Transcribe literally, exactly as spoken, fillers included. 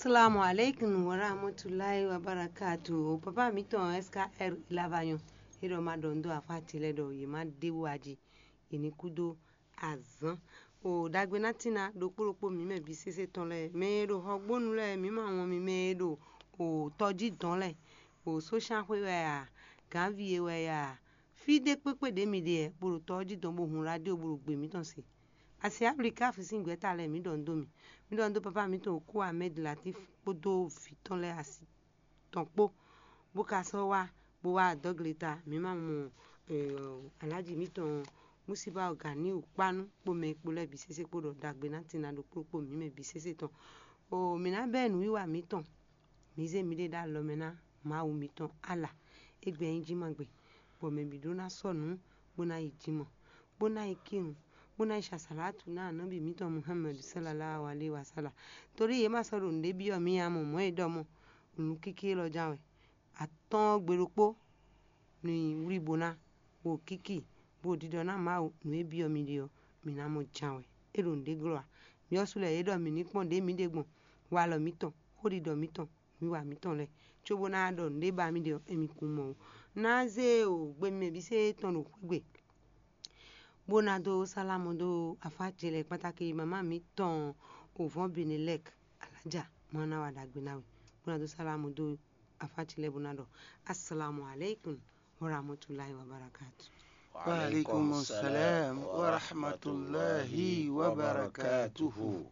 Assalamu alaikum warahmatullahi wabarakatuh. Papa mǐtɔn S K R Ilavanyɔ, é ɖɔ ma ɖɔ nǔ dó afá ce lɛ́ɛ ɖɔ yě má ɖe wú aji, yě ní kú dó azǎn. O ɖagbe ná tín ná ɖokpó ɖokpó mǐ mɛ bǐ sésé tɔn lɛ́ɛ, mɛ e ɖo xɔgbónu lɛ́ɛ, mǐ ma wɔn mi, mɛ e ɖo o tɔjí dɔn lɛ́ɛ, o sósánxwé wɛ a, gǎnvie wɛ a, fí ɖé kpékpé ɖě mi ɖe ɛ, bó ɖo tɔjí dɔn bó hun radio bó ɖo gbe mǐtɔn se. Asi Ablika sín gbɛ̌ta lɛ́ɛ, mǐ ɖɔ nǔ dó mi. Mǐ ɖɔ nǔ dó papa mǐtɔn Oku Ahmed Latif kpódó vǐ tɔn lɛ́ɛ asi tɔn kpó, bó ka sɔ́ wá bó wá dɔ́ gleta. Mǐ ma mɔ alǎji mǐtɔn Musíba Ganiu kpánú kpó mɛ e kpo lɛ́ɛ bǐ sésé kpó ɖɔ ɖagbe ná tín ná ɖokpó kpó mǐ mɛ bǐ sésé tɔn. O mǐ ná bɛ́ nǔwiwa mǐtɔn, mǐ zé miɖée ɖó alɔ mɛ ná Mawu mǐtɔn Ala. Égbɛ́ nyí jí ma gbe, bɔ mɛ bǐ ɖó ná sɔ́ nǔ, bó ná yi jimɔ, bó ná yi kírun, bó ná yi ṣasalatu ná anɔ̌bi mǐtɔn Muhammad sallallahu alaihi wasallam. Torí yě ma sɔ́ ɖo nǔɖé byɔ́ mì ǎ mɔ mɔ̌ e ɖɔ mɔ nǔkíkí élɔ́ ján wɛ. Atɔ́ɔ́n gbe ɖokpó ní wlí bó ná, bó kíki, bó ɖiɖɔ ná Mawu nǔ e byɔ́ mi ɖe ɔ́, mi ná mɔ ján wɛ. É ɖo nǔɖé glɔ́ ǎ. Myɔ́ sú lɛ́ɛ é ɖɔ mǐ ní kpɔ́n ɖě mǐ ɖe gbɔn, walɔ mǐtɔn, xóɖiɖɔ mǐtɔn, nǔwiwa mǐtɔn lɛ́ɛ, cóbó ná ɖɔ nǔɖé ba mì ɖe ɔ́, émí kún mɔ ó. Ná zé o gbe mɛ bǐ sésé tɔn ɖo xwé gbe, bó ná dó sálámù dó afá ce lɛ́ɛ kpátákí mama mǐtɔn Ovɔ́n Benelɛk Alájà má ná wa ɖagbe ná we, bó ná dó sálámù dó afá ce lɛ́ɛ bó ná ɖɔ asalamu aleykum warahmatulahi wabarakatu. Wa alaikum salam wa rahmatullahi wa barakatuhu.